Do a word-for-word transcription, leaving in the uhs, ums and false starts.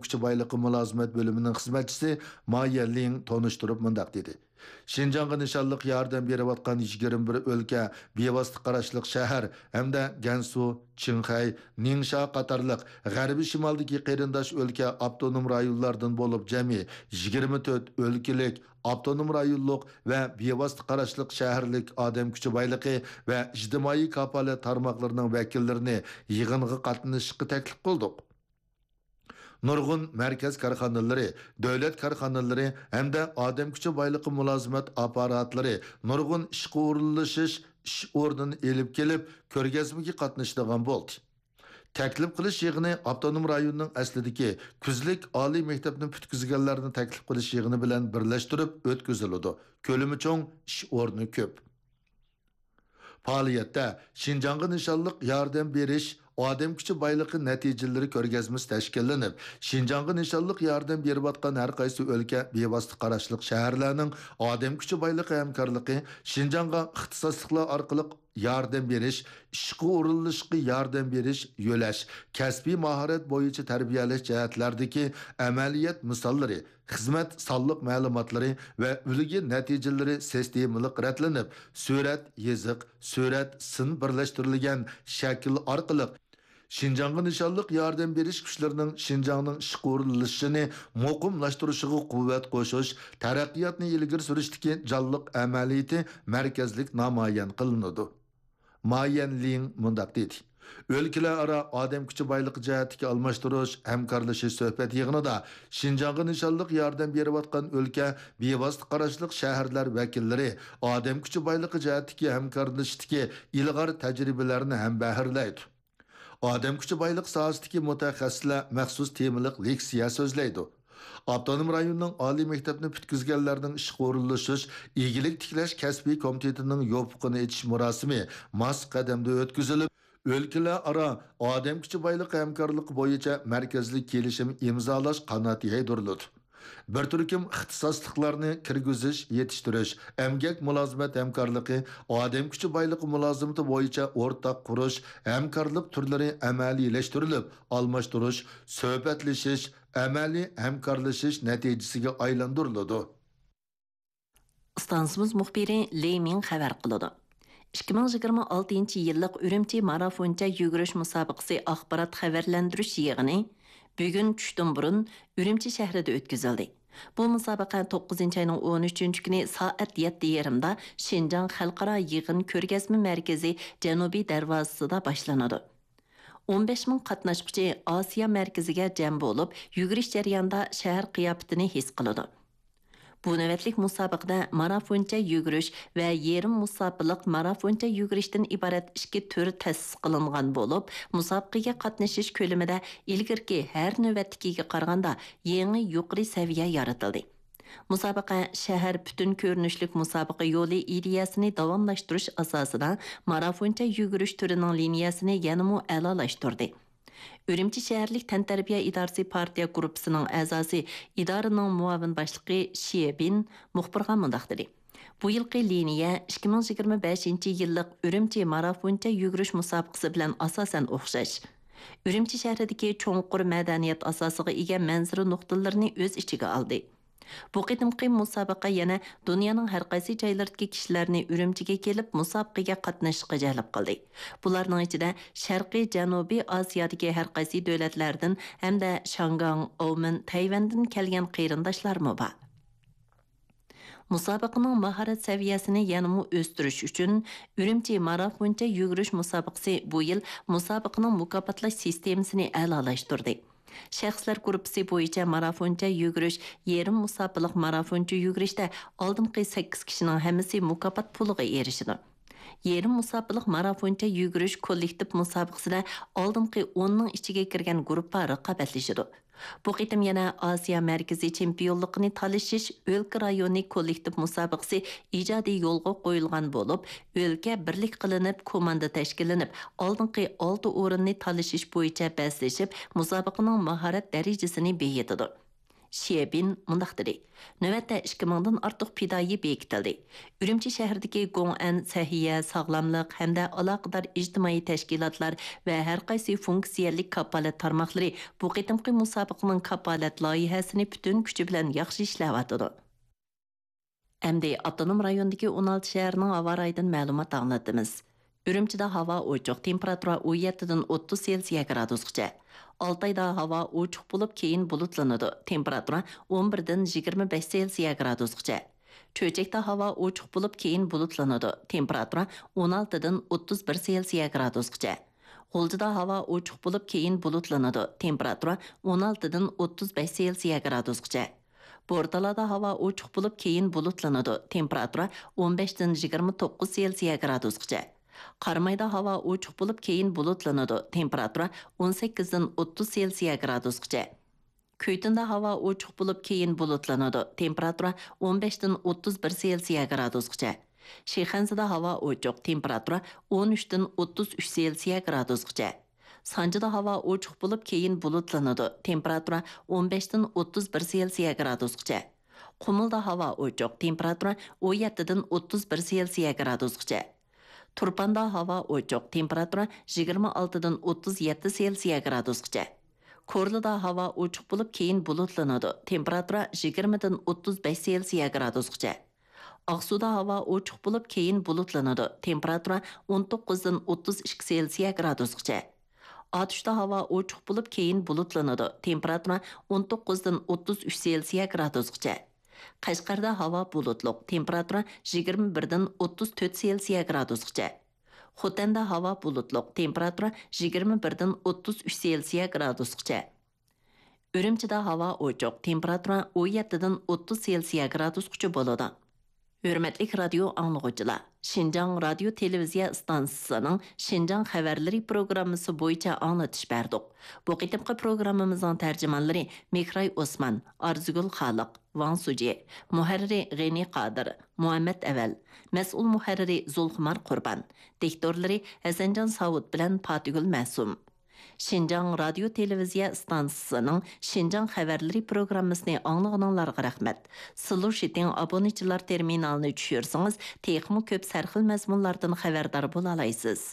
كۈچى بايلىقى مۇلازىمەت بۆلۈمىنىڭ خىزمەتچىسى ما يەنلىڭ تونۇشتۇرۇپ مۇنداق دېدى: شىنجاڭغا نىشانلىق ياردەم بېرىۋاتقان يىگىرمە بىر ئۆلكە، بىۋاسىتە قاراشلىق شەھەر ھەمدە گەنسۇ، چىڭخەي، نىڭشا قاتارلىق غەربىي شىمالدىكى قېرىنداش ئۆلكە، ئاپتونوم رايونلاردىن بولۇپ جەمئىي يىگىرمە تۆت ئۆلكىلىك، ئاپتونوم رايونلۇق ۋە بىۋاسىتە قاراشلىق شەھەرلىك ئادەم كۈچى بايلىقى ۋە ئىجتىمائىي كاپالەت تارماقلىرىنىڭ ۋەكىللىرىنى يىغىنغا قاتنىشىشقا تەكلىپ قىلدۇق. نۇرغۇن مەركەز كارخانىلىرى، دۆلەت كارخانىلىرى ھەمدە ئادەم كۈچى بايلىقى مۇلازىمەت ئاپپاراتلىرى نۇرغۇن ئىشقا ئورۇنلىشىش ئىش ئورنىنى ئېلىپ كېلىپ، كۆرگەزمىگە قاتنىشىدىغان بولدى. تەكلىپ قىلىش يىغىنى ئاپتونوم رايوننىڭ ئەسلىدىكى كۈزلۈك ئالىي مەكتەپنى پۈتكۈزگەنلەرنى تەكلىپ قىلىش يىغىنى بىلەن بىرلەشتۈرۈپ ئۆتكۈزۈلىدۇ. كۆلىمى چوڭ، ئىش ئورنى كۆپ. پائالىيەتتە شىنجاڭغا نىشانلىق ياردەم بېرىش ئادەم كۈچى بايلىقى نەتىجىلىرى كۆرگەزمىسى تەشكىللىنىپ، شىنجاڭغا نىشانلىق ياردەم بېرىۋاتقان ھەر قايسى ئۆلكە، بىۋاسىتە قاراشلىق شەھەرلەرنىڭ ئادەم كۈچى بايلىقى ھەمكارلىقى شىنجاڭغا ئىختىساسلىقلار ئارقىلىق ياردەم بېرىش، ئىشقا ئورۇنلىشىشقا ياردەم بېرىش، يۆلەش، كەسپىي ماھارەت بويىچە تەربىيەلەش جەھەتلەردىكى ئەمەلىيەت مىساللىرى، خىزمەت سانلىق مەلۇماتلىرى ۋە ئۈلگە نەتىجىلىرى سىستېمىلىق رەتلىنىپ، سۈرەت، يېزىق، سۈرەت، سىن بىرلەشتۈرۈلگەن شەكىل ئارقىلىق شىنجاڭغا نىشانلىق ياردەم بېرىش كۈچلىرىنىڭ شىنجاڭنىڭ ئىشقا ئورۇنلىشىشىنى مۇقىملاشتۇرۇشىغا قۇۋۋەت قوشۇش، تەرەققىياتنى ئىلگىرى سۈرۈشتىكى جانلىق ئەمەلىيىتى مەركەزلىك نامايان قىلىنىدۇ. ما يەنلىڭ مۇنداق دېدى: ئۆلكىلەر ئارا ئادەم كۈچى بايلىقى جەھەتتىكى ئالماشتۇرۇش، ھەمكارلىشىش سۆھبەت يىغىنىدا شىنجاڭغا نىشانلىق ياردەم بېرىۋاتقان ئۆلكە، بىۋاسىتە قاراشلىق شەھەرلەر ۋەكىللىرى ئادەم كۈچى بايلىقى جەھەتتىكى ھەمكارلىشىشتىكى ئىلغار تەجرىبىلەرنى ھەمبەھىرلەيدۇ. ئادەم كۈچى بايلىقى ساھەسىدىكى مۇتەخەسسىسلەر مەخسۇس تېمىلىق لېكسىيە سۆزلەيدۇ. ئاپتونوم رايوننىڭ ئالىي مەكتەپنى پۈتكۈزگەنلەرنىڭ ئىشقا ئورۇنلىشىش، ئىگىلىك تىكلەش كەسپىي كومىتېتىنىڭ يوپۇقىنى ئېچىش مۇراسىمى ماس قەدەمدە ئۆتكۈزۈلۈپ، ئۆلكىلەر ئارا ئادەم كۈچى بايلىقى ھەمكارلىقى بويىچە مەركەزلىك كېلىشىم ئىمزالاش قانات يايدۇرۇلىدۇ. بىر تۈركۈم ئىختىساسلىقلارنى كىرگۈزۈش، يېتىشتۈرۈش، ئەمگەك مۇلازىمەت ھەمكارلىقى، ئادەم كۈچى بايلىقى مۇلازىمىتى بويىچە ئورتاق قۇرۇش، ھەمكارلىق تۈرلىرى ئەمەلىيلەشتۈرۈلۈپ، ئالماشتۇرۇش، سۆھبەتلىشىش، ئەمەلىي ھەمكارلىشىش نەتىجىسىگە ئايلاندۇرۇلىدۇ. ئىستانسىمىز مۇخبىرى لېي مىڭ خەۋەر قىلىدۇ. ئىككى مىڭ يىگىرمە ئالتىنچى يىللىق ئۈرۈمچى مارافونچە يۈگۈرۈش مۇسابىقىسى ئاخبارات خەۋەرلەندۈرۈش يىغىنى بۈگۈن چۈشتىن بۇرۇن ئۈرۈمچى شەھىرىدە ئۆتكۈزۈلدى. بۇ مۇسابىقە توققۇزىنچى ئاينىڭ ئون ئۈچىنچى كۈنى سائەت يەتتە يېرىمدا شىنجاڭ خەلقئارا يىغىن كۆرگەزمە مەركىزى جەنۇبىي دەرۋازىسىدا باشلىنىدۇ. ئون بەش مىڭ قاتناشقۇچى ئاسىيا مەركىزىگە جەم بولۇپ، يۈگۈرۈش جەريانىدا شەھەر قىياپىتىنى ھېس قىلىدۇ. بۇ نۆۋەتلىك مۇسابىقىدە مارافونچە يۈگۈرۈش ۋە يېرىم مۇساپىلىق مارافونچە يۈگۈرۈشتىن ئىبارەت ئىككى تۈر تەسىس قىلىنغان بولۇپ، مۇسابىقىگە قاتنىشىش كۆلىمىدە ئىلگىرىكى ھەر نۆۋەتتىكىگە قارىغاندا يېڭى يۇقىرى سەۋىيە يارىتىلدى. مۇسابىقە شەھەر پۈتۈن كۆرۈنۈشلۈك مۇسابىقە يولى ئىدىيەسىنى داۋاملاشتۇرۇش ئاساسىدا مارافونچە يۈگۈرۈش تۈرىنىڭ لىنىيەسىنى يەنىمۇ ئەلالاشتۇردى. ئۈرۈمچى شەھەرلىك تەنتەربىيە ئىدارىسى پارتىيە گۇرۇپپىسىنىڭ ئەزاسى، ئىدارىنىڭ مۇئاۋىن باشلىقى شيې بىن مۇخبىرغا مۇنداق دېدى: بۇ يىلقى لىنىيە ئىككى مىڭ يىگىرمە بەشىنچى يىللىق ئۈرۈمچى مارافونچە يۈگۈرۈش مۇسابىقىسى بىلەن ئاساسەن ئوخشاش. ئۈرۈمچى شەھىرىدىكى چوڭقۇر مەدەنىيەت ئاساسىغا ئىگە مەنزىرە نۇقتىلىرىنى ئۆز ئىچىگە ئالدى. بۇ قېتىمقى مۇسابىقە يەنە دۇنيانىڭ ھەر قايسى جايلىرىدىكى كىشىلەرنى ئۈرۈمچىگە كېلىپ مۇسابىقىگە قاتنىشىشقا جەلپ قىلدى. بۇلارنىڭ ئىچىدە شەرقىي جەنۇبىي ئاسىيادىكى ھەر قايسى دۆلەتلەردىن ھەمدە شاڭگاڭ، ئاۋمېن، تەيۋەندىن كەلگەن قېرىنداشلارمۇ بار. مۇسابىقىنىڭ ماھارەت سەۋىيەسىنى يەنىمۇ ئۆستۈرۈش ئۈچۈن، ئۈرۈمچى مارافونچە يۈگۈرۈش مۇسابىقىسى بۇ يىل مۇسابىقىنىڭ مۇكاپاتلاش سىستېمىسىنى ئەلالاشتۇردى. شەخسلەر گۇرۇپپىسى بويىچە مارافونچە يۈگۈرۈش، يېرىم مۇساپىلىق مارافونچە يۈگۈرۈشتە ئالدىنقى سەككىز كىشىنىڭ ھەممىسى مۇكاپات پۇلىغا ئېرىشىدۇ. يېرىم مۇساپىلىق مارافونچە يۈگۈرۈش كوللېكتىپ مۇسابىقىسىدە ئالدىنقى ئوننىڭ ئىچىگە كىرگەن گۇرۇپپا رىقابەتلىشىدۇ. بۇ قېتىم يەنە ئاسىيا مەركىزىي چېمپىيونلۇقىنى تالىشىش ئۆلكە رايونى كوللېكتىپ مۇسابىقىسى ئىجادىي يولغا قويۇلغان بولۇپ، ئۆلكە بىرلىك قىلىنىپ، كوماندا تەشكىللىنىپ، ئالدىنقى ئالتە ئورۇننى تالىشىش بويىچە بەسلىشىپ، مۇسابىقىنىڭ ماھارەت دەرىجىسىنى بېيىتىدۇ. شيەبىن مۇنداق دېدى: نۆۋەتتە ئىككى مىڭدىن ئارتۇق پىدائىي بېكىتىلدى. ئۈرۈمچى شەھىرىدىكى گوڭئەن سەھىيە، ساغلاملىق ھەمدە ئالاقىدار ئىجتىمائىي تەشكىلاتلار ۋە ھەر قايسى فۇنكسىيەلىك كاپالەت تارماقلىرى بۇ قېتىمقى مۇسابىقىنىڭ كاپالەت لايىھەسىنى پۈتۈن كۈچى بىلەن ياخشى ئىشلەۋاتىدۇ. ئەمدى ئاپتونوم رايوندىكى ئون ئالتە شەھەرنىڭ ھاۋا رايىدىن مەلۇمات ئاڭلىتىمىز. ئۈرۈمچىدە ھاۋا ئوچۇق، تېمپېراتۇرا ئون يەتتىدىن ئوتتۇز سېلسىيە گرادۇسقىچە. ئالتايدا ھاۋا ئوچۇق بولۇپ، كېيىن بۇلۇتلىنىدۇ، تېمپېراتۇرا ئون بىردىن يىگىرمە بەش سېلسىيە گرادۇسقىچە. چۆچەكتە ھاۋا ئوچۇق بولۇپ، كېيىن بۇلۇتلىنىدۇ، تېمپېراتۇرا ئون ئالتىدىن ئوتتۇز بىر سېلسىيە گرادۇسقىچە. غۇلجىدا ھاۋا ئوچۇق بولۇپ، كېيىن بۇلۇتلىنىدۇ، تېمپېراتۇرا ئون ئالتىدىن ئوتتۇز بەش سېلسىيە گرادۇسقىچە. بورتالادا ھاۋا ئوچۇق بولۇپ، كېيىن بۇلۇتلىنىدۇ، تېمپېراتۇرا ئون بەشتىن يىگىرمە توققۇز سېلسىيە گرادۇسقىچە. قارامايدا ھاۋا ئوچۇق بولۇپ، كېيىن بۇلۇتلىنىدۇ، تېمپېراتۇرا ئون سەككىزدىن ئوتتۇز سېلسىيە گرادۇسقىچە. كۈيتۇندا ھاۋا ئوچۇق بولۇپ، كېيىن بۇلۇتلىنىدۇ، تېمپېراتۇرا ئون بەشتىن ئوتتۇز بىر سېلسىيە گرادۇسقىچە. شىخەنزىدە ھاۋا ئوچۇق، تېمپېراتۇرا ئون ئۈچتىن ئوتتۇز ئۈچ سېلسىيە گرادۇسقىچە. سانجىدا ھاۋا ئوچۇق بولۇپ، كېيىن بۇلۇتلىنىدۇ، تېمپېراتۇرا ئون بەشتىن ئوتتۇز بىر سېلسىيە گرادۇسقىچە. قۇمۇلدا ھاۋا ئوچۇق، تېمپېراتۇرا ئون يەتتىدىن ئوتتۇز بىر سېلسىيە گرادۇسقىچە. تۇرپاندا ھاۋا ئوچۇق، تېمپېراتۇرا يىگىرمە ئالتىدىن ئوتتۇز يەتتە سېلسىيە گرادۇسقىچە. كورلىدا ھاۋا ئوچۇق بولۇپ، كېيىن بۇلۇتلىنىدۇ، تېمپېراتۇرا يىگىرمىدىن ئوتتۇز بەش سېلسىيە گرادۇسقىچە. ئاقسۇدا ھاۋا ئوچۇق بولۇپ، كېيىن بۇلۇتلىنىدۇ، تېمپېراتۇرا ئون توققۇزدىن ئوتتۇز ئىككى سېلسىيە گرادۇسقىچە. ئاتۇشتا ھاۋا ئوچۇق بولۇپ، كېيىن بۇلۇتلىنىدۇ، تېمپېراتۇرا ئون توققۇزدىن ئوتتۇز ئۈچ سېلسىيە گرادۇسقىچە. قەشقەردە ھاۋا بۇلۇتلۇق، تېمپېراتۇرا يىگىرمە بىردىن ئوتتۇز تۆت سېلسىيە گرادۇسقىچە. خوتەندە ھاۋا بۇلۇتلۇق، تېمپېراتۇرا يىگىرمە بىردىن ئوتتۇز ئۈچ سېلسىيە گرادۇسقىچە. ئۈرۈمچىدە ھاۋا ئوچۇق، تېمپېراتۇرا ئون يەتتىدىن ئوتتۇز سېلسىيە گرادۇسقىچە بولىدۇ. ھۆرمەتلىك رادىيو ئاڭلىغۇچىلار، شىنجاڭ رادىيو تېلېۋىزىيە ئىستانسىسىنىڭ شىنجاڭ خەۋەرلىرى پروگراممىسى بويىچە ئاڭلىتىش بەردۇق. بۇ قېتىمقى پروگراممىمىزنىڭ تەرجىمانلىرى مېھراي ئوسمان، ئارزۇگۈل خالىق، ۋاڭ سۇجى، مۇھەررىرى غېنى قادىر، مۇھەممەت ئەۋەل، مەسئۇل مۇھەررىرى زۇلخۇمار قۇربان، دىكتورلىرى ھەسەنجان ساۋۇت بىلەن پاتىگۈل مەسۇم. شىنجاڭ رادىيو تېلېۋىزىيە ئىستانسىسىنىڭ شىنجاڭ خەۋەرلىرى پروگراممىسىنى ئاڭلىغىنىڭلارغا رەھمەت. سىلۇشىتىڭ ئابۇنىچىلار تېرمىنالىنى چۈشۈرسىڭىز، تېخىمۇ كۆپ سەرخىل مەزمۇنلاردىن خەۋەردار بولالايسىز.